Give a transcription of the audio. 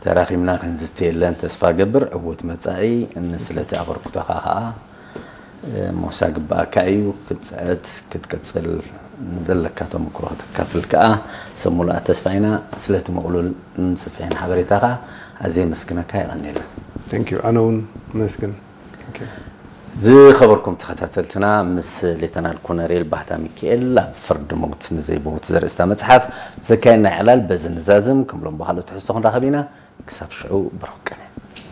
ተራኺብና ክንዝቲ የለን። ተስፋ ገብር ዕውት መጻኢ። ስለቲ ኣበርክቶኻ ከዓ ሞሳ ግባኣካ እዩ። ክትፅዕት ክትቅፅል ዘለካ ተመክሮ ክተካፍል ከዓ ሰብ ሙሉኣት ተስፋ ኢና። ስለቲ ምቕሉልን ሰፊሕን ሓበሬታኻ ኣዝየ የመስግነካ። የቐንየልና። ኣነ እውን መስግን። ዝኸበርኩም ተኸታተልትና፣ ምስ ሌተናል ኮነሬል ባህታ ሚካኤል ኣብ ፍርዲ ሞት ንዘይብውት ዘርእስታ መፅሓፍ ዘካየድና ዕላል በዚ ንዛዝም። ከም ሎምባ ካልኦት ትሕዝቶ ክንራኸብ ኢና። ክሳብ ሽዑ ብሩኽ ቅነ።